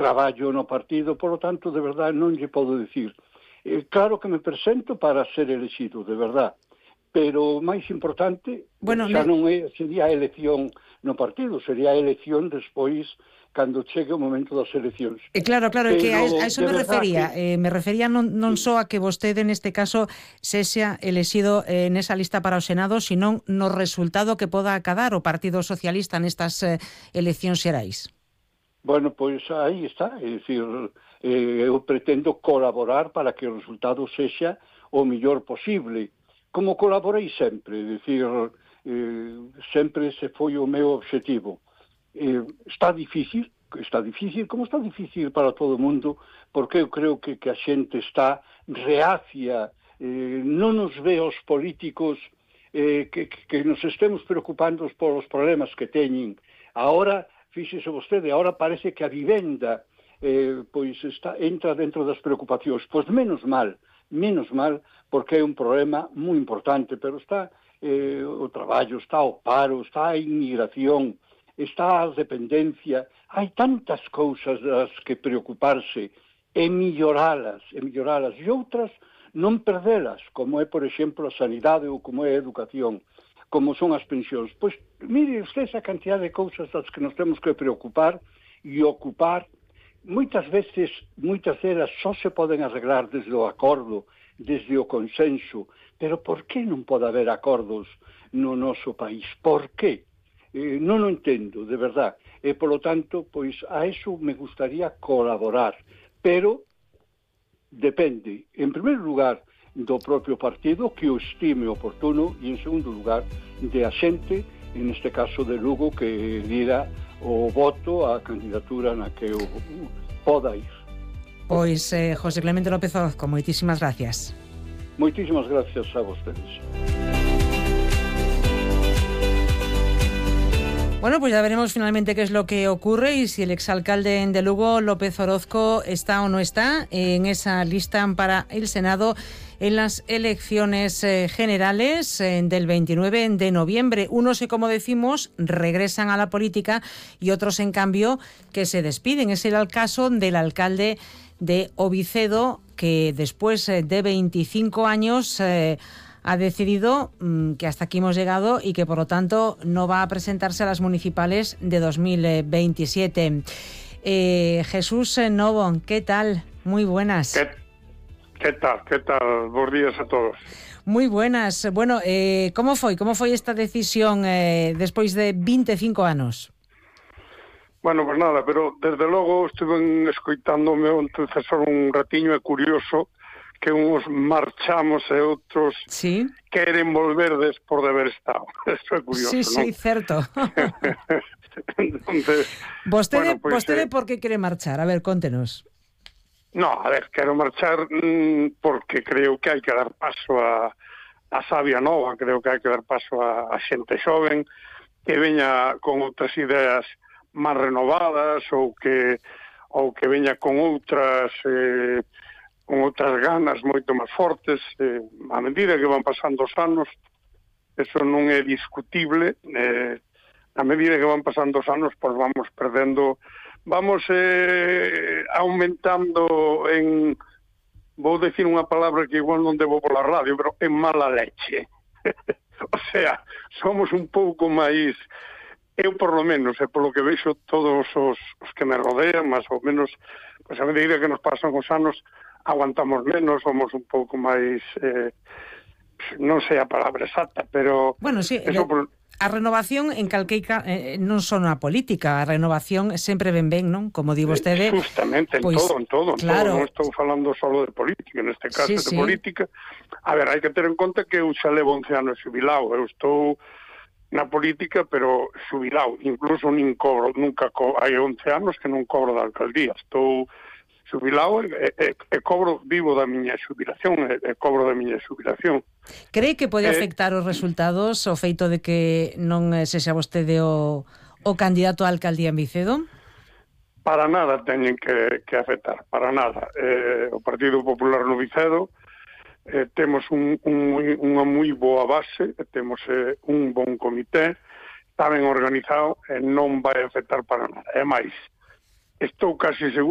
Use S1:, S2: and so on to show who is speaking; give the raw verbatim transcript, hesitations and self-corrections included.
S1: traballo no partido, por lo tanto, de verdade, non lle podo dicir. Eh, claro que me presento para ser elegido, de verdade, pero o máis importante
S2: bueno,
S1: xa
S2: me...
S1: non é, sería a elección no partido, sería a elección despois cando chegue o momento das eleccións.
S2: Eh, claro, claro, é que a, a eso me refería.
S1: Que...
S2: Eh, me refería non, non sí. só a que vostede neste caso sexa elexido eh, nesa lista para o Senado, sino no resultado que poda acadar o Partido Socialista nestas eh, eleccións xerais.
S1: Bueno, pois aí está, é dicir, eh, eu pretendo colaborar para que o resultado sexa o mellor posible, como colaborei sempre, é dicir, eh, sempre se foi o meu obxectivo. Eh, está difícil, está difícil, como está difícil para todo o mundo, porque eu creo que, que a xente está reacia, eh, non nos ve os políticos eh, que, que nos estemos preocupando por os problemas que teñen. Ahora, fíxese vostede, ahora parece que a vivenda eh, pois está, entra dentro das preocupacións. Pois menos mal, menos mal, porque é un problema moi importante, pero está eh, o traballo, está o paro, está a inmigración, está a dependencia, hai tantas cousas das que preocuparse e melloralas, e melloralas, e outras non perdelas, como é, por exemplo, a sanidade ou como é a educación, como son as pensións. Pois, mire usted esa cantidad de cousas das que nos temos que preocupar e ocupar. Moitas veces, moitas delas só se poden arreglar desde o acordo, desde o consenso, pero por que non pode haber acordos no noso país? Por que? Eh, non o entendo, de verdad. E, polo tanto, pois a eso me gustaría colaborar. Pero depende, en primeiro lugar, do propio partido, que o estime oportuno, e en segundo lugar, de a xente, en este caso de Lugo, que dira o voto á candidatura na que eu poda ir.
S2: Pois, eh, José Clemente López Orozco, moitísimas gracias.
S1: Moitísimas gracias a vostedes.
S2: Bueno, pues ya veremos finalmente qué es lo que ocurre y si el exalcalde de Lugo, López Orozco, está o no está en esa lista para el Senado en las elecciones eh, generales eh, del veintinueve de noviembre. Unos, como decimos, regresan a la política y otros, en cambio, que se despiden. Es el caso del alcalde de Ovicedo, que después de veinticinco años... Eh, ha decidido mmm, que hasta aquí hemos llegado y que, por lo tanto, no va a presentarse a las municipales de dos mil veintisiete. Eh, Jesús Novo, ¿qué tal? Muy buenas.
S3: ¿Qué, qué tal? ¿Qué tal? Buenos días a todos.
S2: Moi buenas. Bueno, eh, como foi? Como foi esta decisión eh, despois de veinticinco anos?
S3: Bueno, pues nada, pero desde logo estuve escoitando o meu antecesor un ratiño, é curioso que uns marchamos e outros
S2: sí.
S3: queren volver por de haber estado. Eso é curioso,
S2: sí,
S3: non?
S2: Sí, certo.
S3: Entonces,
S2: vostede,
S3: bueno, pues,
S2: vostede
S3: eh,
S2: por que quere marchar? A ver, contenos.
S3: No, a ver, quero marchar mmm, porque creo que hai que dar paso a, a sabia nova, creo que hai que dar paso a, a xente xoven que veña con outras ideas máis renovadas ou que ou que veña con outras eh, con outras ganas moito máis fortes. Eh, a medida que van pasando os anos, eso non é discutible, eh, a medida que van pasando os anos, pois vamos perdendo, vamos eh, aumentando en, vou decir unha palabra que igual non debo pola radio, pero en mala leche. O sea, somos un pouco máis, eu por lo menos, e polo que vexo todos os, os que me rodean, máis ou menos, pois a medida que nos pasan os anos, aguantamos menos, somos un pouco máis, eh, non sei a palabra exacta, pero...
S2: Bueno, sí,
S3: eso por...
S2: a renovación en calqueica eh, non son a política, a renovación sempre ben ben, non? Como di vostede...
S3: Justamente, en
S2: pues,
S3: todo, en todo, en
S2: claro.
S3: todo, non estou falando solo de política, neste caso
S2: sí,
S3: de
S2: sí.
S3: política. A ver, hai que ter en conta que eu xa levo once anos xubilado, eu estou na política, pero xubilado, incluso nin cobro, nunca co... hai once anos que non cobro da alcaldía, estou xubilado e, e, e cobro, vivo da miña xubilación, e, e cobro da miña xubilación.
S2: Cree que pode
S3: eh,
S2: afectar os resultados o feito de que non sexa vostede o, o candidato á alcaldía en Vicedo?
S3: Para nada teñen que, que afectar, para nada. Eh, o Partido Popular no Vicedo eh, temos un, un, unha moi boa base, temos eh, un bon comité, está ben organizado e non vai afectar para nada. É máis, estou casi seguro